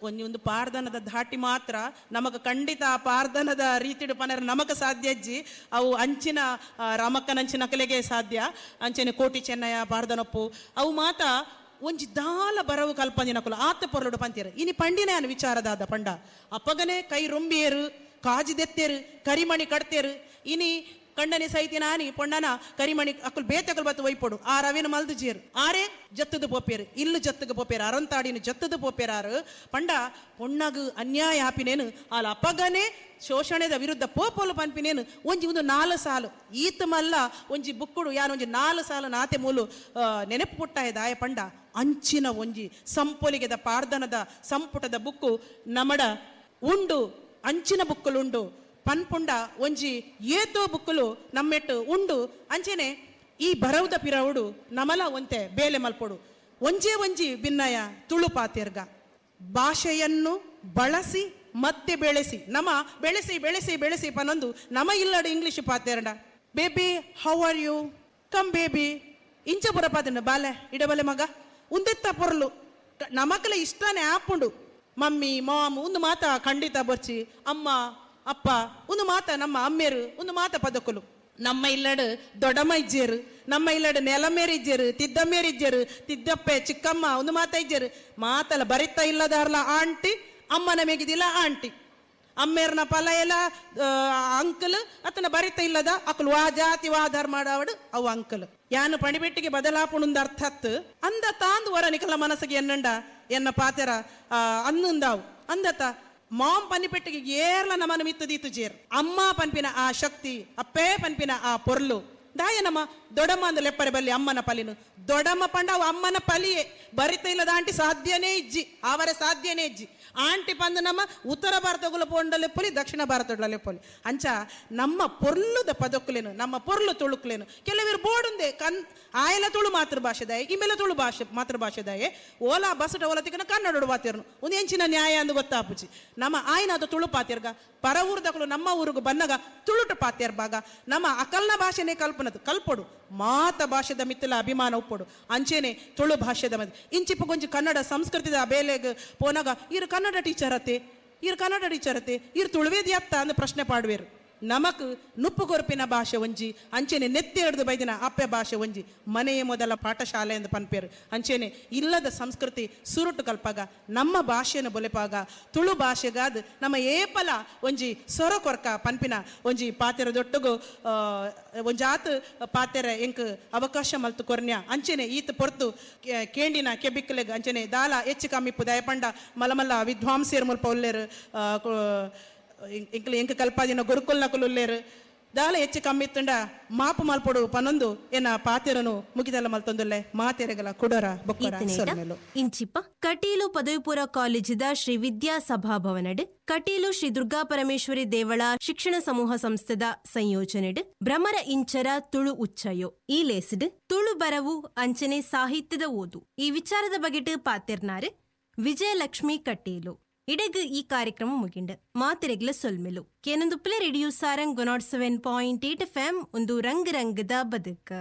ಒಂಜಿ ಒಂದು ಪಾರ್ದನದ ಧಾಟಿ ಮಾತ್ರ ನಮಕ್ ಖಂಡಿತ ಆ ಪಾರ್ದನದ ರೀತಿಡು ಪನರ ನಮಕ್ ಸಾಧ್ಯ ಅಜ್ಜಿ. ಅವು ಅಂಚಿನ ರಾಮಕ್ಕನಂಚಿನ ಕಲೆಗೆ ಸಾಧ್ಯ. ಅಂಚನೆ ಕೋಟಿ ಚೆನ್ನಯ್ಯ ಪಾರ್ದನೊಪ್ಪು ಅವು ಮಾತ ಒಂಜಿ ದಾಲ ಬರವು ಕಲ್ಪಂದಿನಕುಲು ಆತ ಪೊರ್ಲುಡು ಪಂತೀರು. ಇನಿ ಪಂಡಿನ ವಿಚಾರದಾದ ಪಂಡ ಅಪ್ಪಗನೆ ಕೈ ರೊಂಬಿಯರು, ಕಾಜಿದೆತ್ತೇರು, ಕರಿಮಣಿ ಕಡ್ತೇರು. ಇನಿ ಕಂಡನೆ ಸೈತಿ ನಾನಿ ಪೊಣ್ಣನ ಕರಿಮಣಿ ಅಕ್ಕುಲ್ ಬೇತಕಲ್ ಬತ್ತು ಒಯ್ಪೊಡು ಆ ರವಿನ ಮಲ್ದು ಜೇರು ಆರೇ ಜತ್ತದ ಪೋಪೇರು, ಇಲ್ಲು ಜತ್ತಗ ಪೋಪೇರು, ಅರಂತಾಡಿನ ಜತ್ತದ ಪೋಪೇರಾರು. ಪಂಡ ಪೊಣ್ಣಗು ಅನ್ಯಾಯ ಆಪಿನೇನು ಆಲ ಅಪ್ಪಗನೆ ಶೋಷಣೆದ ವಿರುದ್ಧ ಪೋಪೋಲು ಪನ್ಪಿನೇನು ಒಂಜಿ ಒಂದು 4 ಸಾಲು ಈತ ಮಲ್ಲ ಒಂಜಿ ಬುಕ್ಕುಡು ಯಾನ್ ಒಂಜಿ 4 ಸಾಲು ನಾತೆ ಮೂಲು ನೆನಪು ಪುಟ್ಟಾಯ ದಾಯ ಪಂಡ ಅಂಚಿನ ಒಂಜಿ ಸಂಪೊಲಿಗೆದ ಪಾರ್ದನದ ಸಂಪುಟದ ಬುಕ್ಕು ನಮಡ ಉಂಡು, ಅಂಚಿನ ಬುಕ್ಕುಲುಂಡು ಪನ್ಪುಂಡ ಒಂಜಿ ಏತೋ ಬುಕ್ಕುಲು ನಮ್ಮೆಟ್ಟು ಉಂಡು. ಅಂಚೆನೆ ಈ ಬರವುದ ಪಿರವುಡು ನಮಲ ಒಂತೆ ಬೇಲೆ ಮಲ್ಪೊಡು. ಒಂಜೇ ಒಂಜಿ ಭಿನ್ನಯ ತುಳು ಪಾತೆರ್ಗ ಭಾಷೆಯನ್ನು ಬಳಸಿ ಮತ್ತೆ ಬೆಳೆಸಿ, ನಮ ಬೆಳೆಸಿ ಬೆಳೆಸಿ ಬೆಳೆಸಿ ಪನೊಂದು ನಮ ಇಲ್ಲಡು English ಪಾತೆರಂಡ. Baby how are you, come baby ಇಂಚ ಪುರ ಪಾತೆಂಡ ಬಾಲೆ ಇಡಬಲೆ ಮಗ ಉಂದೆತ್ತ ಪೊರ್ಲು ನಮಕಲ ಇಷ್ಟನೇ ಆಪುಂಡು. ಮಮ್ಮಿ ಮಾಮ್ ಒಂದು ಮಾತ ಖಂಡಿತ ಬರ್ಚಿ, ಅಮ್ಮ ಅಪ್ಪ ಒಂದು ಮಾತ ನಮ್ಮ ಅಮ್ಮೇರು ಒಂದು ಮಾತ ಪದಕುಲು. ನಮ್ಮ ಇಲ್ಲಡು ದೊಡಮ್ಮ ಇಜ್ಜೇರು, ನಮ್ಮ ಇಲ್ಲಡು ನೆಲಮೇರು ಇಜ್ಜೇರು, ತಿದ್ದಮ್ಮೇರು ಇಜ್ಜೇರು, ತಿದ್ದಪ್ಪೆ ಚಿಕ್ಕಮ್ಮ ಒಂದು ಮಾತ ಇಜ್ಜೇರು. ಮಾತಲ್ಲ ಬರಿತಾ ಇಲ್ಲದಾರ್ಲ ಆಂಟಿ, ಅಮ್ಮನ ಮೇಗಿದಿಲ್ಲ ಆಂಟಿ, ಅಮ್ಮೇರ್ನ ಫಲ ಎಲ್ಲ ಅಂಕಲ್ ಅತನ ಬರಿತ ಇಲ್ಲದ ಅಕುಲು ವಾ ಜಾತಿ ವಾ ಧರ್ಮ ಆಡಾವಡು ಅವು ಅಂಕಲ್. ಯಾನು ಪಣಿಬೆಟ್ಟಿಗೆ ಬದಲಾಪುಣುಂದ ಅರ್ಥತ್ ಅಂದ ತಾಂದು ವರ ನಿಕಲ ಮನಸ್ಸಿಗೆ ಎನ್ನಂಡ ಎನ್ನ ಪಾತೆರ ಅನ್ನುಂದಾವು ಅಂದತ ಮಾಂ ಪನಿಪೆಟ್ಟಿಗೆ ಏರ್ಲ ನಮನ ಮಿತ್ತದೀತು ಜೇರ್. ಅಮ್ಮ ಪನ್ಪಿನ ಆ ಶಕ್ತಿ, ಅಪ್ಪೇ ಪನ್ಪಿನ ಆ ಪೊರ್ಲು ದಾಯ ನಮ್ಮ ದೊಡಮ್ಮ ಅಂದ ಲೆಪ್ಪರೆ ಬಲ್ಲಿ ಅಮ್ಮನ ಪಲಿನು ದೊಡಮ್ಮ ಪಂಡ ಅವು ಅಮ್ಮನ ಪಲಿಯೇ. ಬರಿತ ಇಲ್ಲದ ಆಂಟಿ ಸಾಧ್ಯನೇ ಇಜ್ಜಿ, ಅವರ ಸಾಧ್ಯನೇ ಇಜ್ಜಿ. ಆಂಟಿ ಪಂದು ನಮ್ಮ ಉತ್ತರ ಭಾರತಗುಲ ಪೋಂಡಲೆಪ್ಪೊಲಿ, ದಕ್ಷಿಣ ಭಾರತದಲೆಪ್ಪೊಲಿ. ಅಂಚ ನಮ್ಮ ಪೊರ್ಲುದ ಪದಕ್ಕುಲೇನು, ನಮ್ಮ ಪೊರ್ಲು ತುಳುಕ್ಲೇನು. ಕೆಲವರು ಬೋಡುಂದೆ ಕನ್ ಆಯಲ ತುಳು ಮಾತೃಭಾಷೆದಾಯ, ಇಮೆಲ ತುಳು ಭಾಷೆ ಮಾತೃಭಾಷೆದಾಯೆ. ಓಲಾ ಬಸಟ ಓಲಾ ತಿಕ್ಕನ ಕನ್ನಡ ಬಾತಿರ್ನು ಒಂದು ಎಂಚಿನ ನ್ಯಾಯ ಅಂದು ಗೊತ್ತಾಪುಚಿ. ನಮ್ಮ ಆಯ್ನ ಅದು ತುಳು ಪಾತಿರ್ಗ, ಪರ ಊರ್ದಕಲು ನಮ್ಮ ಊರಿಗೂ ಬನ್ನಗ ತುಳುಟು ಪಾತಿರ್ಬಾಗ ನಮ್ಮ ಅಕಲ್ನ ಭಾಷೆನೇ ಕಲ್ಪನದು ಕಲ್ಪೊಡು. ಮಾತ ಭಾಷೆದ ಮಿತ್ತಲ ಅಭಿಮಾನ ಉಪ್ಪೊಡು. ಅಂಚೆನೆ ತುಳು ಭಾಷೆದ ಮಧ್ಯೆ ಇಂಚಿಪ್ಪ ಕೊಂಚ ಕನ್ನಡ ಸಂಸ್ಕೃತಿದ ಬೇಲೆಗ್ ಪೋನಾಗ ಇರು ಕನ್ನಡ ಟೀಚರ್ ಅತ್ತೆ, ಇರು ಕನ್ನಡ ಟೀಚರ್ ಅತ್ತೆ, ಇರು ತುಳುವೇದಿ ಅತ್ತ ಅಂದ್ ಪ್ರಶ್ನೆ ಪಾಡುವೇರು. ನಮಕ್ ನುಪ್ಪು ಕೊರಪಿನ ಭಾಷೆ ಒಂಜಿ, ಅಂಚೆನೆ ನೆತ್ತಿ ಹಿಡಿದು ಬೈದಿನ ಅಪ್ಪೆ ಭಾಷೆ ಒಂಜಿ, ಮನೆಯ ಮೊದಲ ಪಾಠಶಾಲೆ ಎಂದು ಪನ್ಪೇರು. ಅಂಚೆನೆ ಇಲ್ಲದ ಸಂಸ್ಕೃತಿ ಸುರುಟು ಕಲ್ಪಾಗ ನಮ್ಮ ಭಾಷೆಯನ್ನು ಬೊಲೆಪಾಗ ತುಳು ಭಾಷೆಗಾದ ನಮ್ಮ ಏಪಲ ಒಂಜಿ ಸೊರ ಕೊರ್ಕ ಪನ್ಪಿನ ಒಂಜಿ ಪಾತೆರ ದೊಟ್ಟುಗು ಒಂಜಾತ್ ಪಾತೆರ ಎಂಕ್ ಅವಕಾಶ ಮಲ್ತು ಕೊರ್ನ್ಯ. ಅಂಚೆನೆ ಈತ ಪೊರ್ತು ಕೇಂಡಿನ ಕೆಬಿಕ್ಕಲೆಗ್ ಅಂಚೆನೆ ದಾಲ ಹೆಚ್ಚು ಕಮ್ಮಿಪ್ಪು ದಯಪಂಡ ಮಲಮಲ್ಲ ವಿದ್ವಾಂಸೇರ್ ಮುಲ್ಪ ಉಲ್ಲೇರು, ಎಂಕ್ಲು ಎಂಕ್ ಕಲ್ಪಾದಿನ ಗುರುಕುಲ್ನಕುಲು ಉಲ್ಲೇರು. ದಾಲ ಹೆಚ್ಚು ಕಮ್ಮಿ ಇತ್ತುಂಡ ಮಾಪು ಮಲ್ಪೊಡು ಪನೊಂದು ಎನ್ನ ಪಾತೆರನು ಮುಗಿದಲ್ಲ ಮಲ್ತೊಂದುಲ್ಲೆ ಮಾತೆರೆಗಲ ಕುಡರ ಬೊಕ್ಕರ ಸೊಲ್ಮೆಲು. ಇಂಚಿಪ್ಪ ಕಟೀಲು ಪದವಿಪೂರ್ವ ಕಾಲೇಜಿದ ಶ್ರೀ ವಿದ್ಯಾ ಸಭಾಭವನಡ್ ಕಟೀಲು ಶ್ರೀ ದುರ್ಗಾ ಪರಮೇಶ್ವರಿ ದೇವಳ ಶಿಕ್ಷಣ ಸಮೂಹ ಸಂಸ್ಥೆದ ಸಂಯೋಜನೆಡ್ ಭ್ರಮರ ಇಂಚರ ತುಳು ಉಚ್ಚಯೋ ಈ ಲೇಸ್ಡ್ ತುಳು ಬರವು ಅಂಚನೆ ಸಾಹಿತ್ಯದ ಓದು ಈ ವಿಚಾರದ ಬಗೆಟ್ ಪಾತೆರ್ನಾರು ವಿಜಯಲಕ್ಷ್ಮಿ ಕಟೀಲು. ಇಡಗು ಈ ಕಾರ್ಯಕ್ರಮ ಮುಗಿಂಡು ಮಾತೆರೆಗ್ಲ ಸೊಲ್ಮೆಲು. ಕೇನೊಂದುಪ್ಲೆ ರೇಡಿಯೋ ಸಾರಂಗ್ 107.8 FM ಒಂದು ರಂಗ್ ರಂಗದ ಬದುಕು.